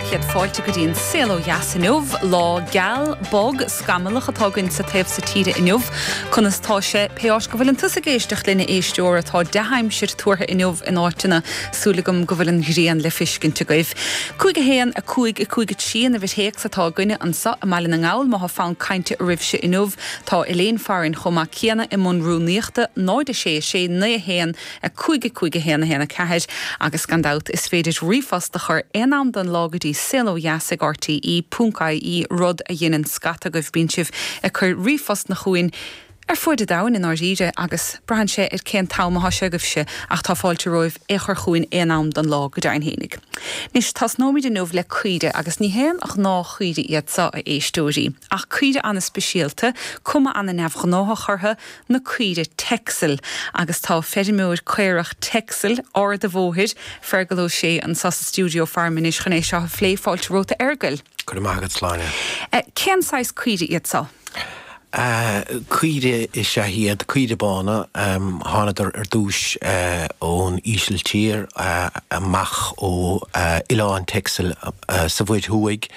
Céad fáilte go dtí an Saol Ó Dheas inniu. Lá geal, bog, scamallach atá againn sa taobh so tíre inniu. Conas tá sé pé áit go bhfuileann tusa ag éisteacht linn a éisteora? Tá dea-aimsir tuartha inniu in áiteanna. Súil agam go bhfuil an ghrian le fiscint agaibh. 5 1 5 5 3 an uimhir théacs atá againne anso i mBaile na nGall má thá fonn cainte oraibhse inniu. Tá Elaine farainn chomh maith céanna i mbun rúnaíochta, 0 6 6 9 1 5 5 1 1 4 agus gan dabht is féidir ríomhphost a chur aon am den lá go dtí saolodheas ag rte ponc ie rud a dheineann scata agaibh bíonn sibh ag cur ríomhphostanna chugainn ar fuaid an domhain i ndáiríre agus braitheann sé ar cén t-am athá sé agaibhse ach tá fáilte romhaibh é a chur chugainn aon am den lá go deimhin fhéinig. Anois tosnóimid inniu le caoire agus ní haon ghnáth-chaoire iad seo a éisteoirí ach caoire ana-speisialta, cuma ana-neamhghnáthach orthu, na caoire Texel agus tá feirmeoir caorach Texel, Ard a' Bhóthair, Fergal Ó Sé anso sa stiúideo faram anois chun é seo a phlé. Fáilte romhat a Fheargail. Go raibh maith agat, Sláine. Cén saghas caoire iad seo? Caoire is ea iad, caoire bána. Thánadar ar dtúis ón Ísiltír, amach ó oileán Texel sa Mhuir Thuaidh.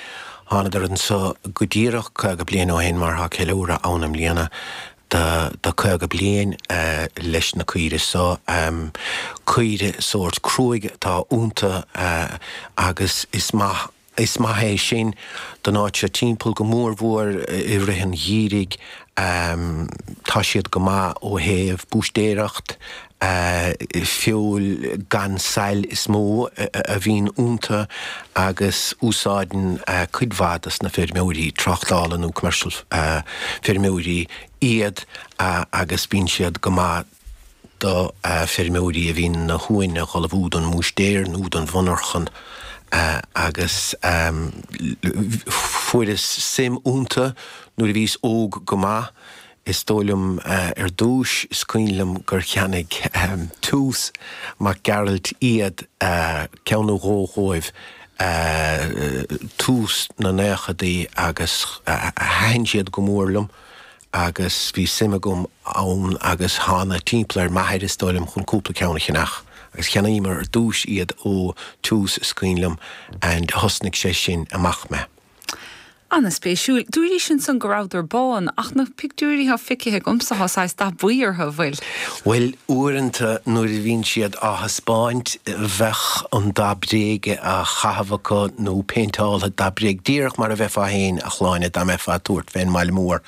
Thánadar anso go díreach 50 bliain ó shin, mar tá ceiliúradh ann i mbliana do 50 bliain leis na caoire so. Caoire sórt cruaidh atá iontu agus is maith is maith é sin don áit seo timpeall, go mór mhór i rith an gheimhridh. Tá siad go maith ó thaobh búistéireacht, feoil gan sail is mó a bhíonn iontu agus úsáideann cuid mhaith dos na feirmeoirí tráchtála nó commercial feirmeoirí iad agus bíonn siad go maith do feirmeoirí a bhíonn na huain a dh'ullmhú don mbúistéir nó don mhonarchan agus fuaireas suim iontu nuair a bhíos óg go maith. Is dóigh liom ar dtúis, is cuimhin liom gur cheannaigh Toose Mac Gearailt iad, ceann nó dhó dhóibh, tús na naochadaí agus thaitin siad go mór liom agus bhí suim agam ann agus thána timpeall ar m'athair is dóigh liom chun cúpla ceann a cheannach agus cheannaíomar ar dtúis iad ó Toose is cuimhin liom and thosnaigh sé sin amach mé. Ana-spéisiúil. Dúraís ansan go rabhadar bán, ach na pictiúirí thá feicithe agamsa thá saghas dath buí orthu, an bhfuil? Bhuel, uaireanta nuair a bhíonn siad á thaispeáint bheadh an dath bréige á chaitheamh acu nó péinteáltha dath bréige, díreach mar a bheifeá féin, a Shláine, dá mbeifeá ag tabhairt fén mbaile mór.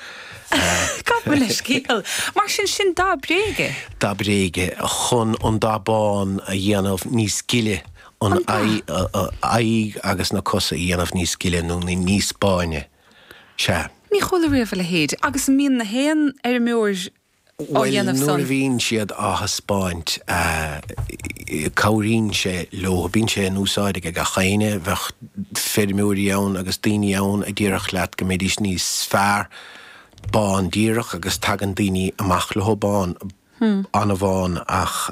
Gabh mo leithscéal. Mar sin, sin dath bréige? Dath bréige, chun an dath bán a dhéanamh níos gile. an aghaidh agus na cosa a dhéanamh níos gile nó níos báine. Sea. Ní chuala riamh a leithéid. Agus an mbíonn na haon fheirmeoir á Bhuel, dhéanamh nuair san? a bhíonn siad á thaispeáint, cabhraíonn sé leo. Bíonn sé in úsáid ag gach éinne. Bheadh feirmeoirí ann agus daoine ann a déarfadh leat go mbeidís níos fearr bán díreach agus tagann daoine amach leo bán. an-bhán ach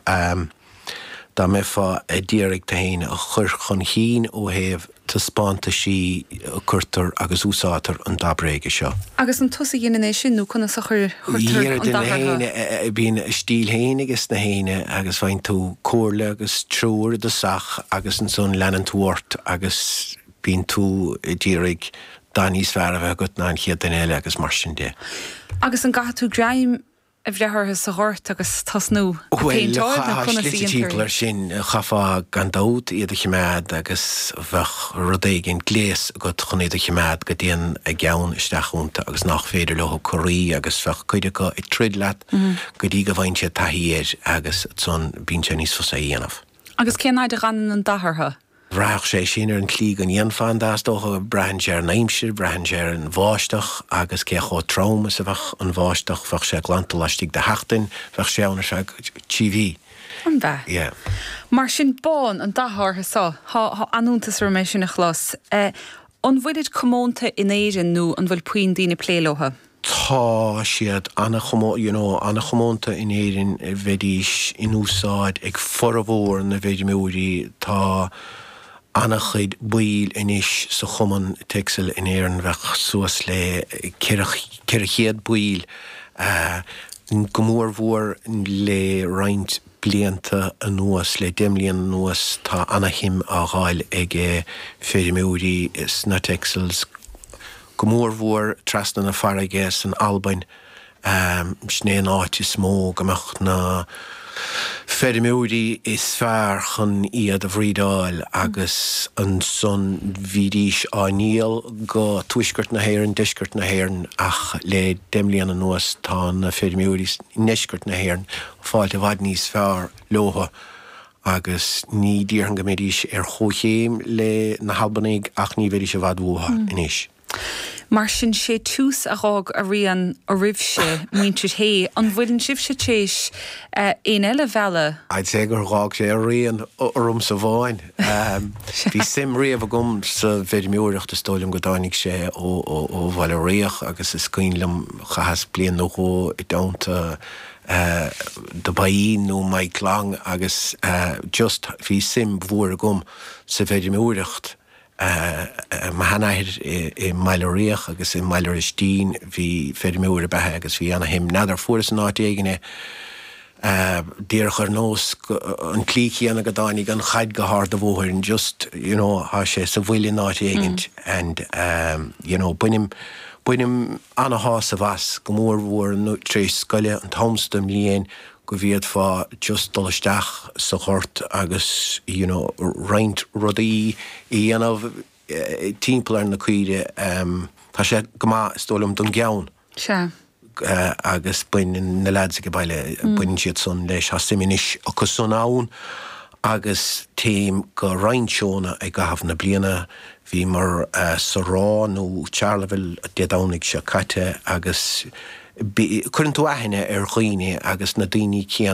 dá mbeifeá a d'iarraidh tú fhéin a chur chun chinn ó thaobh taispeántaisí cuirtear agus úsáidtear an dath bréige seo. Agus an tusa a dheineann é sin nó conas a chuirtear an dath orthu? Déanann, bíonn a stíl fhéin ages na héinne agus faigheann tú comhairle agus treoir i dtosach agus ansan leanann tú ort agus bíonn tú a d'iarraidh dath níos fearr a bheith agat ná an chéad duine eile agus mar sin de. Agus an gcaithfidh tú greim a bhreith orthu sa ghort agus tosnú ag Bhuel, péinteáil nó tá conas a slite dhéantar timpeall é? air sin. Chaithfeá gan dabht iad a choimeád agus bheadh rud éigin, gléas agat chun iad a choimeád go dtéann a gceann isteach iontu agus nách féidir leo corraí agus bheadh cuid acu ag troid leat go dtí go bhfaigheann siad taithí air agus ansan bíonn sé níos fusa a dhéanamh. Agus cén fhaid a dh'fhanann an dath orthu? Bhraithfeadh sé sin ar an tslí go ndéanfá an dath, is dócha. Braitheann sé ar an aimsir, braitheann sé ar an bháisteach agus cé chomh trom is a bheadh an bháisteach. Bheadh sé glanta laistigh de sheachtain, bheadh sé ann ar feadh 3 mhí. An b'ea? Yeah. Mar sin, bán an dath orthu so. Thá an-iontas orm é sin a chlos. An bhfuilid comónta in Éirinn nó an bhfuil puinn daoine ag plé leotha? Tá siad ana-chomó, you know, ana-chomónta in Éirinn, bheidís in úsáid ag formhór na bhfeirmeoirí. Tá ana-chuid baill anois sa Chumann Texel in Éirinn, bheadh suas le 400 baill, go mór mhór le roinnt. blianta anuas, le 10 mbliana anuas, tá ana-shuim á dh'fháil ag feirmeoirí sna Texels, go mór mhór trasna na farraige san Albain. Sin é an áit is mó go mbeadh na feirmeoirí is fearr chun iad a bhreedáil agus ansan bhídís á ndíol go tuaisceart na hÉireann, deisceart na hÉireann ach le 10 mbliana anuas tá na feirmeoirí i ndeisceart na hÉireann fáilt i bhfad níos fearr leothu agus ní déarfainn go mbeidís ar chomhchéim le na hAlbanaigh ach ní bheidís i bhfad uathu anois. Mar sin, sé tús a dh'fhág a rian oraibhse, muintir Shé. An bhfuileann sibhse tar éis éinne eile a mhealladh? I'd say gur dh'fhág sé a rian ormsa amháin. Bhí suim riamh agam sa bhfeirmeoireacht, is dóigh liom go dtáinig sé ó Bhaile Riach agus is cuimhin liom chaitheas bliain nó dhó i dteannta The Byeen nó Mike Long agus just bhí suim mhór agam sa bhfeirmeoireacht. Mo sheanathair i mBaile Riach agus i mBaile Roistín, bhí feirmeoir ab ea é agus bhí ana-shuim. N'fheadar, fuaireas in áit éigin é díreach ar nós an tslí chéanna go dtáinig an chaid go hArd a' Bhóthair and just, you know, thá sé sa bhfuil in áit éigint and you know, bainim, bainim ana-shásamh as, go mór mhór tar éis scoile, an t-am so den mbliain go bhféadfá just dul isteach sa ghort agus you know roinnt rudaí a dhéanamh timpeall ar na caoirigh. Tá sé go maith is dóigh liom don gceann. Sea. Agus baineann na lads ag baile, baineann siad san leis, tá suim anois acu san ann agus téim go roinnt seónna i gcaitheamh na bliana. Bhíomar sa Ráth nó Charleville Dé Domhnaigh seo caite agus Cuireann tú aithne ar dhaoine agus na daoine céanna.